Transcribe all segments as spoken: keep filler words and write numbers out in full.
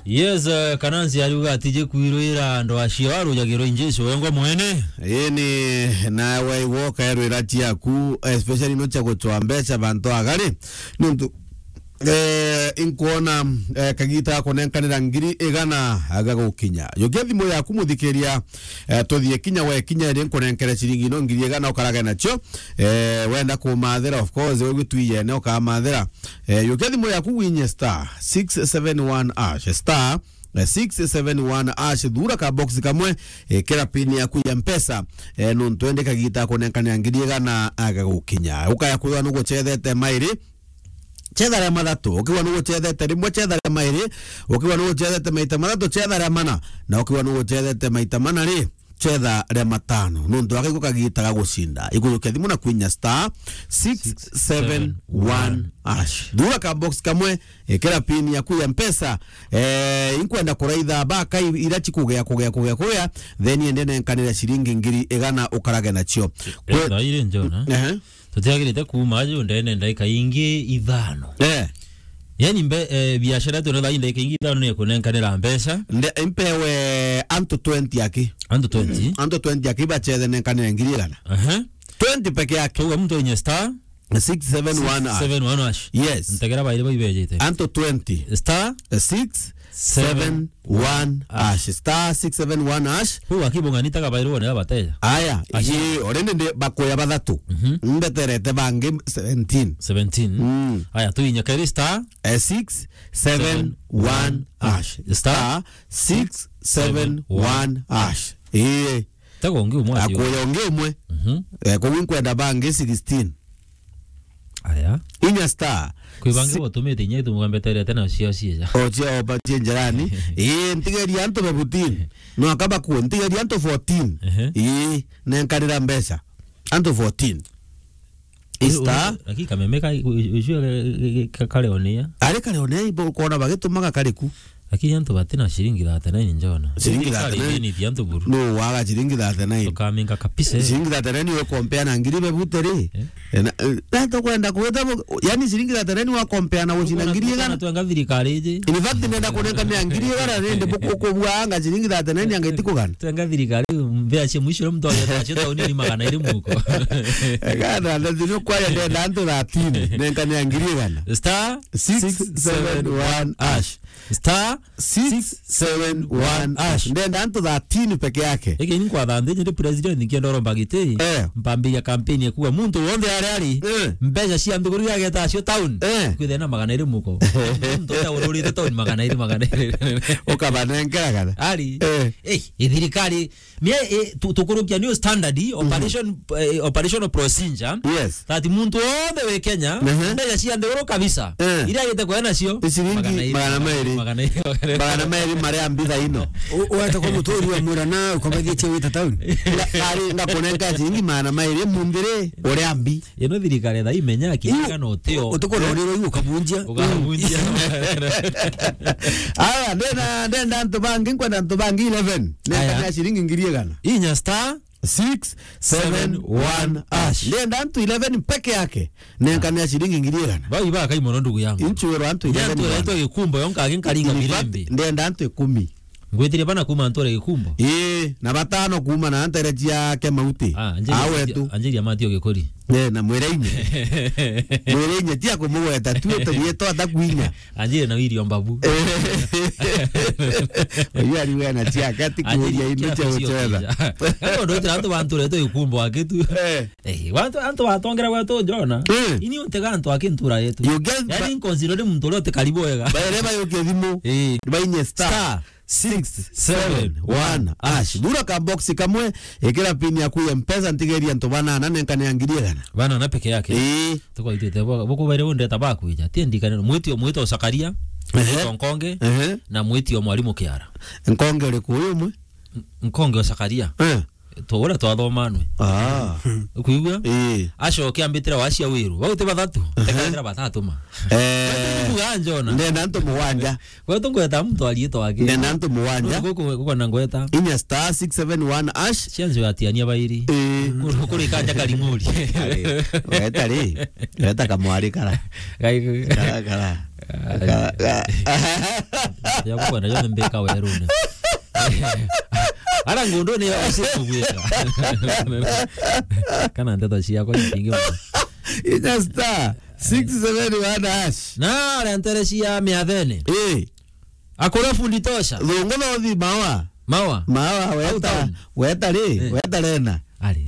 Yes, eh, Kanansi ariuga atiji kwirwira andu acio arujagirwo injesu wengwa mwene. Ii ni nawe igwo ukaerwira ciaku, especially no cia gucwa mbeca bantu agari. Nontu, eh, inkwona, eh, kagita kunenkanira ngiri igana agagukinya. Yukia thimu yaku muthikiria, eh, tuthie kinya we kinya iri nkunenkere ciringi no ngiri igana ukarage nacio. Eh, wenda kumathira, of course, ugitwiyene ukamathira. Eh, yukia thimu yaku winye star six seven one hash, star, eh, six seven one hash, thura ka box kamwe, eh, kira pin yaku ya Mpesa, eh, nontu indi kagita kunenkanira ngiri igana agagukinya. Ukaya kwithwa nugucethete mairi, cetha ria mathatu. Ukiwa nugucethete rimwe, cetha ria mairi. Ukiwa nugucethete maita mathatu, cetha ria mana. Na ukiwa nugucethete maita mana ri, cetha ria matano. Nontu aka iko kagita ga gucinda. Ikujukia thimu na kwinya star six seven one hash. Thura ka box kamwe, ikira pin yaku ya Mpesa. Eh, inkwenda kuraitha baka i-, ira cikugea, kugea, kugea, kugea. Then ende nenkanire ciringi ngiri igana ukarage nacio. Kwe- Etha iri njona. Ehe. Tutiagirite kuuma aju ndene ndaika ingi ithano. Eh. Yani mbe, eh, biashara yetu na thaa hii ndaika ingi ithano ni kunenkanira mbeca. Nde-, mpewe antu twenty aki. Antu twenty? Antu twenty aki bacethe nenkanire ngiri igana. Aha. Twenty peke yake. Tuga muntu inye star six seven one hash. Six seven one hash. Yes. Ntegera baire baibejete. Antu twenty. Star six seven one hash. Star six seven one hash. Hu akibunga ni taka bairwo ne abateja. Aya, ashi. Ye, already ndi bakoya bathatu. Mhm. Mbeterete bangi seventeen. Seventeen. Mm. Aya, tuinye kairi star, eh, six seven one hash. Star six seven one hash. Ii. Tego ngi umwe acio. Akoya ungi umwe. Mhm. Eh, koguo nkwenda bangi sixteen. Aya. Inya star. Kwi bangi si- botumite inya itu mgambeterete na cio cieja. O cio obatie njirani. Ii, ntigeria antu bebutin. No akaba ku, ntigeria antu fourteen. Ehe. Ii, nenkarira mbeca. Antu fourteen. Ii, star. Lakini kameme ka, ucio ka, ka, ka, kare onia. Ari kare onia, ibo ukona bagitumaga kari ku. Lakini antu batina ciringi thirty-nine njona. Ciringi thirty-nine. Ni antu buru. No waga ciringi thirty-nine. Tukaminga kabisa. Ciringi thirty-nine we compare na ngiri bebutere. Eh? Eh, na, eh, na tukwenda kweta bo-, yani ciringi thirty-nine wa compare na gucina ngiri igana. Twenga thirikari iji. In fact, nenda kunenka mia ngiri igana rende buku-, kubuanga ciringi thirty-nine anga itikugana. Twenga thirikari, mbea cia mwisho muntu ageta cio tauni ni magana iri muko. Gana, ndio kwa ya ndenda antu thirteen, nenka mia ngiri igana. Star six seven one hash. Star six seven one hash. Ndenda antu thirteen peke yake. Eke ni kwa thande nje president nikienda oro mbagite. Eh. Mpambia campaign ya kuwa muntu wonde ari ari. Eh. Mbeca cia nthuguru ya geta cio town. Eh. Kwithena magana iri muko. Muntu ya ururite town magana iri, magana iri. Ukabanengera kana. Ari. Eh. Eh, thirikari Mie, eh, tu-, tukurukia new standard, operation, eh, operational procedure. Yes. That muntu wothe wi Kenya, mbeca cia nthiguru kabisa, iria agite kwea nacio, ni ciringi magana iri, magana mairi. Magana iri, magana iri. Magana mairi maria mbitha ino. U-, wete kwa muturi wa mwira na ukobathie cia wita town. Nga-, ngari ngakunenka ciringi magana mairi munthiri uria mbi. Ino thirikari tha imenya kinya no tio. Utukona uriro iu ukabunjia. Ukabunjia. Aya, ndenda, ndenda antu bangi, nkwenda antu bangi eleven. Aya. Nenka mia ciringi ngiri igana. Inya star six seven one hash. Ndenda antu eleven peke yake. Nenka mia ciringi ngiri igana. Bau iba kai mono ndugu yangu. Inchuero antu eleven. Antu eleven bwana. Gikumbo yonka agi nkaringa mirembe. In fact, ndenda antu ikumi. Ngwitirie bana kuma nture Gikumbo. Ii, na batano kuma na ntere cia Kemauti. Ah, Anjeri, awetu. Anjeri Amatio Gikuri. Eh, na mwireinye. Mwireinye, tia kumugweta, tu turietwa atakwinya. Anjeri na William Babu. Eh. Uyu ari wena ciake, ati kuria indu cia gucetha. Kando ndo tira antu bantu reto Gikumbo akitu. Eh. Eh, wantu, antu batongera gwetu njona. Eh. Ini untega antu akintura yetu. You get. Yani ba- nkonziro ni muntu uria utikari bwega. Baireba yuke thimu. Eh. Bainye star. Star six seven one hash. Thura ka box kamwe, ikira pin yaku ya Mpesa, ntigeria antu banana, nenka ni ya ngiri igana. Banana peke yake? Ii. Tuko itete bo, bo kubaire undeta bakwija. Tie ndikane, mwitio, mwitio Zakaria, ehe, mwitio Nkonge, ehe, na mwitio Mwalimu Kiara. Nkonge uriku uyu umwe? N-, Nkonge o Zakaria. Eh. To uria twathomanwe. Ah. Ukuigua? Ii. Acoke ambitire wacia wiru. Bau ti bathatu. Aha. Tekatira bathatu ma. Eh. Kuga njona. Ndenda antu mugwanja. Gwetu ngweta muntu ariitwa ake. Ndenda antu mugwanja. Guku, guku na ngweta. Inya star six seven one hash. Cianzo atiania bairi. Ii. Kuri, kuri kanja karing'uri. Ari, weta ri. Weta kamwari kara. Gai-, kara, kara. Ka-, ka-, ya kukwenda yo mbika werune. Ara ngundu ni ya usiku gwika. Kana ndeto ciakwa nyingi muno. Ina star six seven one hash. Na aria ntere cia miathene. Eh. Akore fundi tosha. Thungu no thi mawa. Mawa. Mawa, weta, town. Weta ri, eh, weta rena. Ari.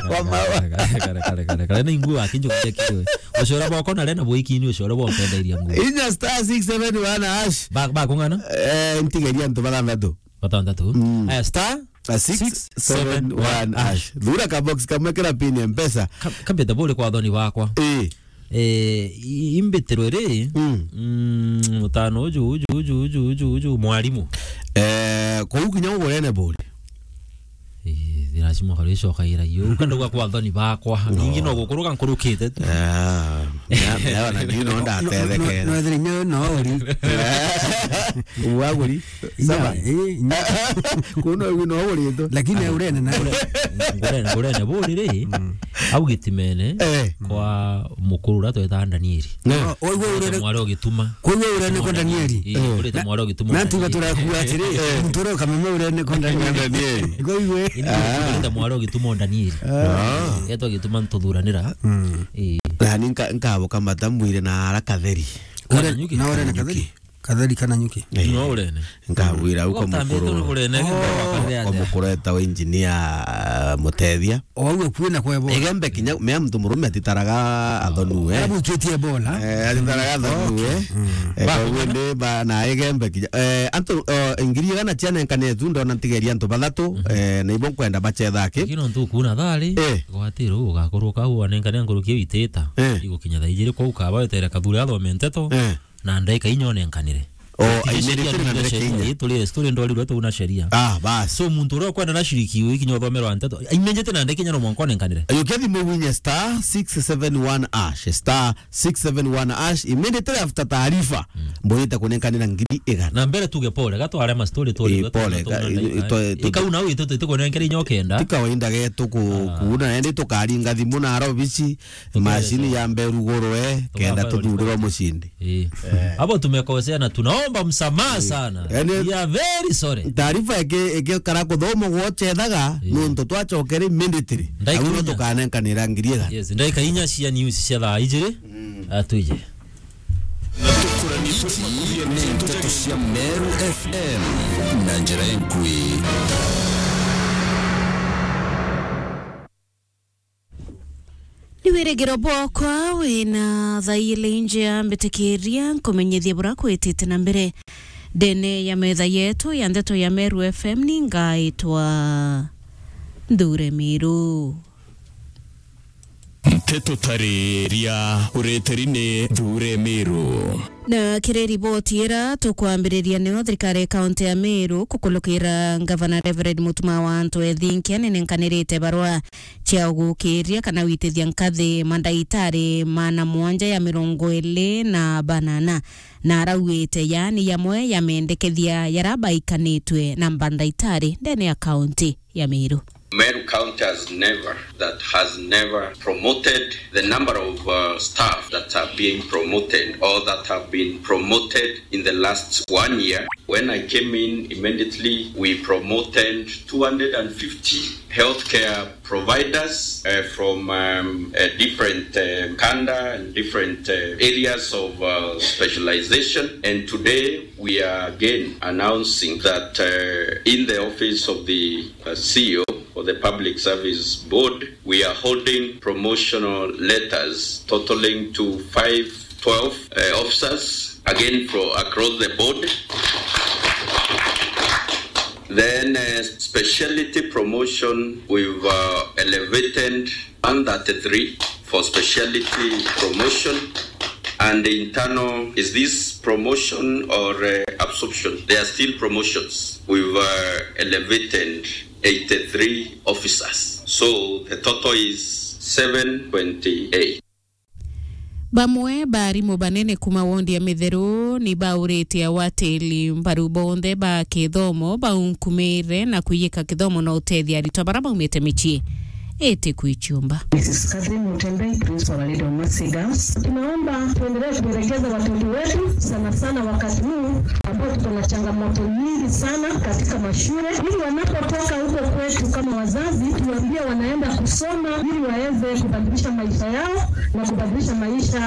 Kwa mawa. Kare, kare, kare, kare. Kare na ingua kinjo kia kiwe. Ucora boko na rena bwiki ni ucora boko ndairia ngua. Inya star six seven one hash. Ba, ba kung'ana? Eh, ntigeria antu bathanthatu. Bathanthatu. Mm. Eh, star a six seven one hash. Thura ka box kamwe kira pin ya mpesa. Ka-, kambite buri kwa thoni bakwa. Eh. Eh, i-, imbitiro iri, mm, mm, mutano uju, uju, uju, uju, uju, uju, mwarimu. Eh, kou kinya ugurene buri. Eh, lazima karicokaira iyo. Ukandauga kwa thoni bakwa. No. Ningi no gukuruka nkurukite tu. Ah, ya, ya, na ndio no ndatethekera. No, no, no, no, no, uri. Uaguri. Sama. Inya, eh, inya. Kuno wino uritwe. Lakini urene na ngurene, ngurene buri ri. Mm. Au gitimene, eh, kwa mukuru uria twetaga Danieli. No. Oigwe urene. Mwari ugituma. Kwa urene kwa Danieli. Eh, urite mwari ugituma. Na tiga turakua atiri, eh, muntu uria ukamenya urene kwa Danieli. Danieli. Kwa igwe. Ini urite mwari ugituma Danieli. Ah. Etwa gituma ntuthuranira. Mm. Eh. Na ni nka-, nkabuka matamwire na arakatheri. Kana nyuki? Na urene katheri? Katheri kana nyuki? Eh. No urene. Nkagwira uko. Utambite mukuru, urene, oh, kwa mukuru etawa engineer, ah, Mutethia. O au kwina kwa Ebola. Igembe kinya, mea muntu murume atitaraga athonue. Arabu ikitie Ebola. Eh, atitaraga athonue. Okay. Mm. Eh, ba, kwa hivyo ndi ba, na Igembe kinya. Eh, antu, oh, ngiri igana cianenkanire tu, ndona ntigeria antu bathatu, mhm, eh, na ibo nkwenda bacetha ki. Lakini ntu kuna thari, eh, gwatiro ugakorwo kau anenkane nkuruki itita. Eh. Igukinya thaa ijiri kwa ukaba wetere kathuri athome nteto. Eh. Na ndaika inya onenkanire. O, aimerete na ndaika inya. Ii, turi story ndwarirwe tu na sheria. Ah, bas. So, muntu uria ukwenda na shiriki uyu kinya uthomerwa nteto, aimenjete na ndaika inya no mwanka onenkanire. Ayukia thimu winye star six seven one hash, star six seven one hash, immediately after taarifa, mm, mbwirite kunenkanira ngiri igana. Na mbere tuge pole, gatware ma story turi. Eh, pole, ika unau itu, itu kunenkere inya okenda. Ti kawaida getu ku-, ah, kuuna, ende tukaringa thimu na arobici. Mashini ya mberu gurwe, kenda tuthurirwa mucindi. Eh. Eh. Abo tumekosea na tunaomba msamaha sana. Yani, we are very sorry. Taarifa eke, eke kara kuthoma gwocethaga, eh, nontu twacokere immediately. Au no tukanenkanira ngiri igana. Yes, ndaika inya cia news cia thaa ijiri. Mm. Atwije. Ici ni nteto cia Meru F M na njira inkui. Ni wirigiro bwakwa wina thairi njia mbitikiria nkumenyithie bura kwitite na mbere. Ndene ya metha yetu ya ndeto ya Meru F M ni ngaitwa Nthure Miru. Nteto tariria ureteri ni Nthure Miru. Na kiri riboti ira tukwambiriria nio thirikari ya kaunti ya Meru kukulukira ngavana Reverend Mutuma wa Antu Ethinkia ninenkanirite barua cia ugukiria kana witithia nkathi mandaitari maana mwanja ya mirongo iri na banana, na arauite yaani yamwe ya mendekethia yara baikanitwe na mandaitari ndene ya kaunti ya Meru. Meru County has never, that has never promoted the number of, uh, staff that are being promoted or that have been promoted in the last one year. When I came in, immediately we promoted two hundred and fifty healthcare providers, uh, from, um, uh, different, uh, kanda and different, uh, areas of, uh, specialization. And today we are again announcing that, uh, in the office of the, uh, C E O of the Public Service Board, we are holding promotional letters totaling to five twelve, uh, officers, again, for across the board. Then, uh, specialty promotion, we've, uh, elevated one thirty-three for specialty promotion, and internal, is this promotion or, uh, absorption? They are still promotions. We've, uh, elevated eighty-three officers. So the total is seven twenty-eight. Bamwe ba arimu banene kuma wondi ya Mitheru ni baurite awatiri mbaru bonthe ba kithomo baunkumire na kwiyika kithomo na utethia aritwa bara baumite micii. iti kwichiumba. Missus Catherine Mutembei, principal wa Little Mercy Girls. Tunaomba tuendelee kuelekeza watoto wetu, sana sana wakati huu ambao tuko na changamoto nyingi sana katika mashule, ili wanapotoka huko kwetu kama wazazi, tuambie wanaenda kusoma ili waweze kubadilisha maisha yao na kubadilisha maisha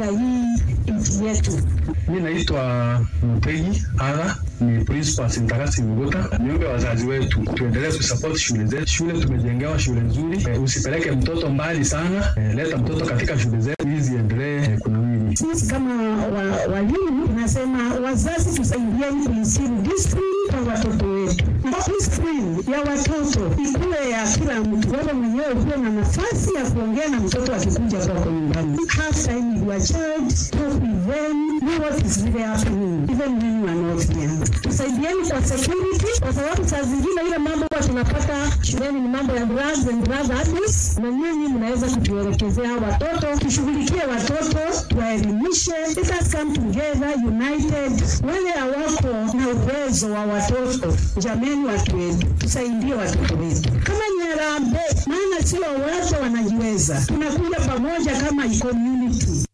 ya hii nchi yetu. Mimi naitwa Mutegi Aga, ni principal Sintagasi Muguta. Niombe wazazi wetu tuendelee kusupport shule zetu. Shule tumejengewa shule nzuri. Eh, usipeleke mtoto mbali sana. Eh, leta mtoto katika shule zetu ili ziendelee, eh, kunawiri. Sisi kama wa-, walimu tunasema wazazi tusaidieni kuinstill discipline kwa watoto wetu. Na discipline ya watoto ikuwe ya kila mtu. Wewe mwenyewe ukuwe na nafasi ya kuongea na mtoto akikuja kwako nyumbani. Have time with your child, talk with them, know what is really happening, even when you are not there. Tusaidieni kwa security, kwa sababu saa zingine ile mambo huwa tunapata shuleni ni mambo ya drugs and drug abuse, na nyinyi mnaweza kutuelekezea watoto, tushughulikie watoto, tuwaelimishe. Let us come together united. Wale hawako na uwezo wa watoto, jameni, watu wetu, tusaidie watoto wetu. Kama ni harambee, maana sio wote wanajiweza. Tunakuja pamoja kama community.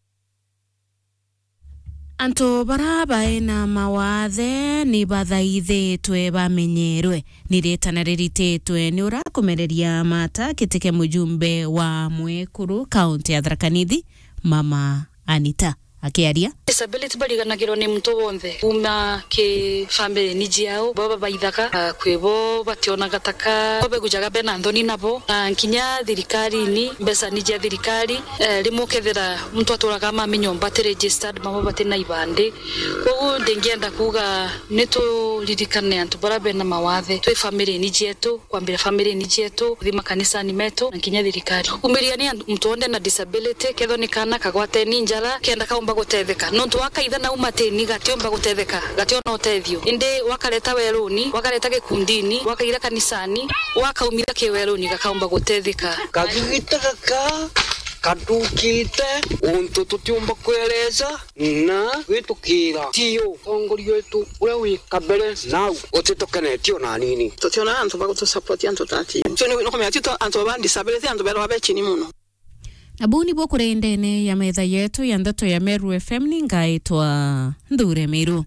Antu bara baina mawathe ni bathaithitwe bamenyerwe. Ni ritana rirititwe ni urakumereria mata kiti kia mujumbe wa Mwekuru, kaunti ya Tharaka Nithi, Mama Anita. Akiaria. Disability bariganagirwo ni muntu wonthe, kuma ki family-ini ciao, baba baithaga, ah, kwi bo bationaga taka, bo begujaga bena nthoni nabo, na nkinya thirikarini, mbeca ni cia thirikari. Eh, rimwe ukethira muntu aturaga mami nyomba ati registered, bamwe bati na ibandi. Koguo ndingienda kuuga ni turirikane antu bara bena mawathe, twi family-ini cietu, kwambira family-ini cietu, kuthi makanisani metu, na nkinya thirikari. Umiria ni antu, muntu wonthe na disability, kethwa ni kaana kagwateni njara, kenda kaumba gutetheka. Nontu wakaitha na umatini, gatiumba gutetheka, gationa utethio. Indi wakareta weruni, wakareta gikundini, wakaira kanisani, wakaumira ki weruni, gakaumba gutetheka. Kagigita gaka, kathukite, untu tutiumba kwereza, na gwitukira. Tiyo, utongoria wetu uria wi kabere nau, utitukenetie ona anini. Tutiona antu ba gutusupport antu ta ati. So, ni, ni kumenya ti to antu ba disability, antu berwa be chini muno. Na buu nibuo kuri ndene ya metha yetu ya ndeto ya Meru F M, ni ngaitwa Nthure Miru.